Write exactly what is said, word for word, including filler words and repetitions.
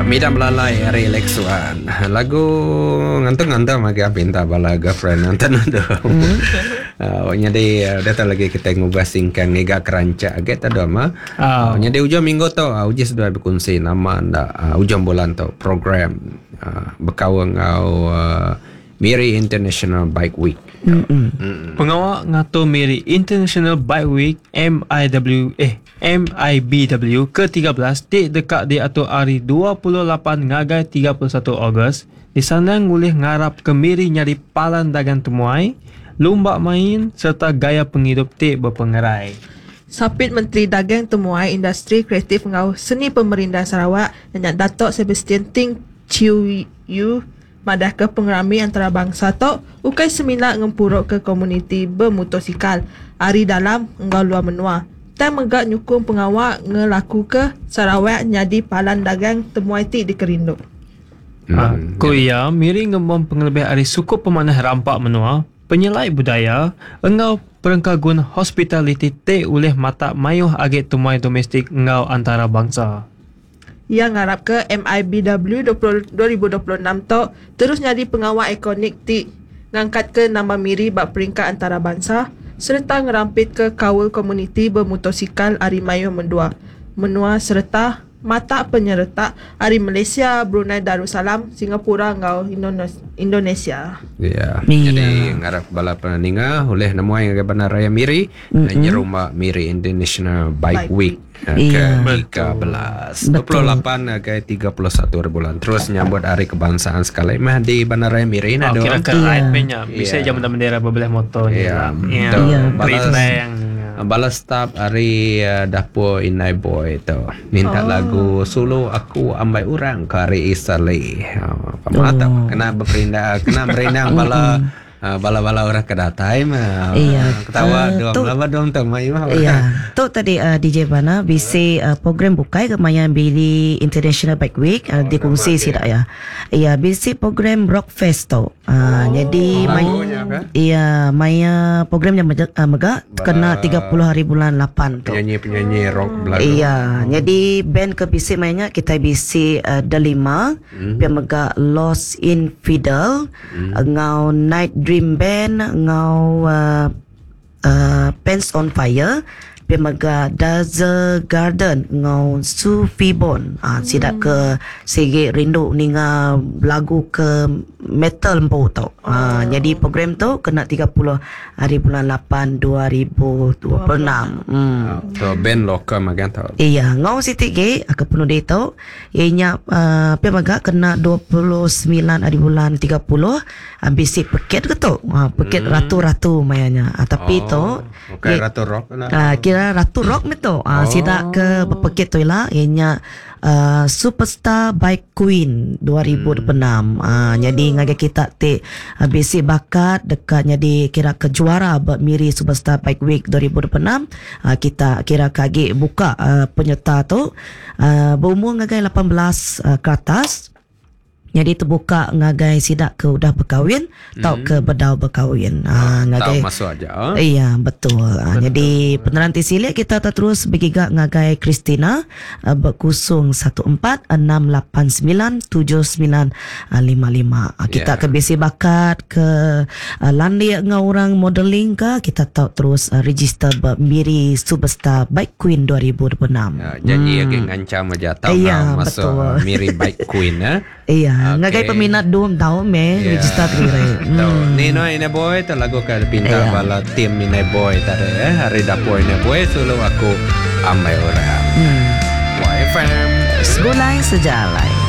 Midam Lalai hari Lexuan. Lagu ngantung-ngantung lagi pinta bala girlfriend nonton tu. Mm. Uh, jadi datang lagi kita ngubah singkang ngiga kerancak agak tak ada mah. Uh, jadi ujung minggu tu uh, uji sudah berkongsi nama ndak uh, ujung bulan tu program uh, berkawan ngau uh, Miri International Bike Week. Mm-mm. Pengawal ngatur Miri International Bike Week M I W eh M I B W ke tiga belas ti dekat diatur hari dua puluh lapan ngagai tiga puluh satu Ogos. Di sana ngulih ngarap ke Miri nyari palan dagang temuai, lumba main serta gaya penghidup ti berpengerai. Sapit Menteri Dagang Temuai Industri Kreatif ngau Seni Pemerintah Sarawak dan Datuk Sebastian Ting Chiu Yu madah ke pengerami antarabangsa tok ukai semina ngempuruk ke komuniti bermotosikal ari dalam enggau luar menua. Tang mega nyukung pengawal ngelaku ke Sarawak nyadi palan dagang temuai ti dikerindu. Hmm. Ku iya, Miri ngembang pengelebih ari suku pemanah rampak menua, penyelai budaya, enggau perengkagun hospitality te ulih mata mayuh agi temuai domestik enggau antarabangsa. Ia ngarap ke M I B W dua ribu dua puluh enam tu terus nyadi pengawal ikonik ti ngangkat ke nama Miri bak peringkat antarabangsa serta ngerampit ke kaul komuniti bermotosikal ari mayuh mendua menua serta mata penyerta ari Malaysia, Brunei Darussalam, Singapura enggau Indonesia. Ya. Yeah. Jadi ngarap bala peninga oleh nemuai ngagai Bandaraya Miri mm-hmm. nyerumba Miri International Bike, Bike Week ke tiga belas dua puluh lapan ngagai tiga puluh satu bulan. Terus nyambut hari kebangsaan sekali mah di Bandaraya Miri nah. Oh, kira ke ride punya. Bisa jam bendera bebelah motor. Ya. Iya. Bala staff hari uh, dapur Inai Boy tu minta oh. lagu solo aku ambai orang ke hari Isali. Oh, pamata oh. kena berperindah kena merindang bala uh, bala-bala orang ke datai mah. Iya. Ketawa uh, dong laba dong tu mai mah. Iya. Tu tadi uh, D J Bana bisi uh, program bukai ke maya Miri International Bike Week uh, oh, dikongsi sidak ya. Iya, bisi program Rock Fest tu. Uh, oh, jadi maya iya maya programnya mega, uh, mega kena tiga puluh hari bulan lapan tu. Penyanyi-penyanyi rock belagu. Iya, jadi band ke bisi mainnya kita bisi uh, Delima, mm. pia mega Lost Infidel, mm. ngau Night Dream Band, ngau uh, uh, Pants on Fire, pia mega Dazzle Garden ngau Sufi Bon. Ah, sidak ke sigi rindu ninga lagu ke metal empu tu. Ah, oh. Jadi program tu kena tiga puluh hari bulan lapan dua ribu dua puluh enam. Hmm. So band lokal magan tu. Iya, ngau siti ge ke penuh tu ianya uh, pia mega kena dua puluh sembilan hari bulan tiga puluh uh, bisi peket ke tu. Ah, peket hmm. ratu-ratu mayanya. Ah, tapi oh, tu okay, ratu rock lah. Ah, kira Ratu Rock ni tu. Ah, oh. Sidak ke berpekit tu lah ianya uh, Superstar Bike Queen dua ribu dua puluh enam. Hmm. Ah, jadi ngagai kita ti uh, bisi bakat dekat jadi kira ke juara buat Miri Superstar Bike Week dua ribu dua puluh enam. Ah, kita kira kagi buka uh, penyerta tu uh, berumur ngagai lapan belas uh, ke atas. Jadi terbuka ngagai sidak ke udah berkahwin hmm. atau ke bedau berkahwin. Ha, ngagai masuk aja. Iya, betul. Ha, betul. Jadi peneranti silik kita terus bergiga ngagai Christina berkusung satu empat enam lapan sembilan tujuh sembilan lima lima. Kita yeah. ke bisi bakat ke landik ngau orang modeling ke kita tahu terus register Miri Superstar Bike Queen dua ribu dua puluh enam. Ya, janji hmm. lagi ngancam aja tahu ya, masuk betul. Miri Bike Queen eh. Iya. Okay. Ngagai peminat dua tahun me yeah. register kira. Hmm. Ni no ini boy tu lagu ke pinta yeah. bala tim ini boy tadi eh hari dapur ini boy solo aku amai orang. Hmm. Y F M Segulai sejalai.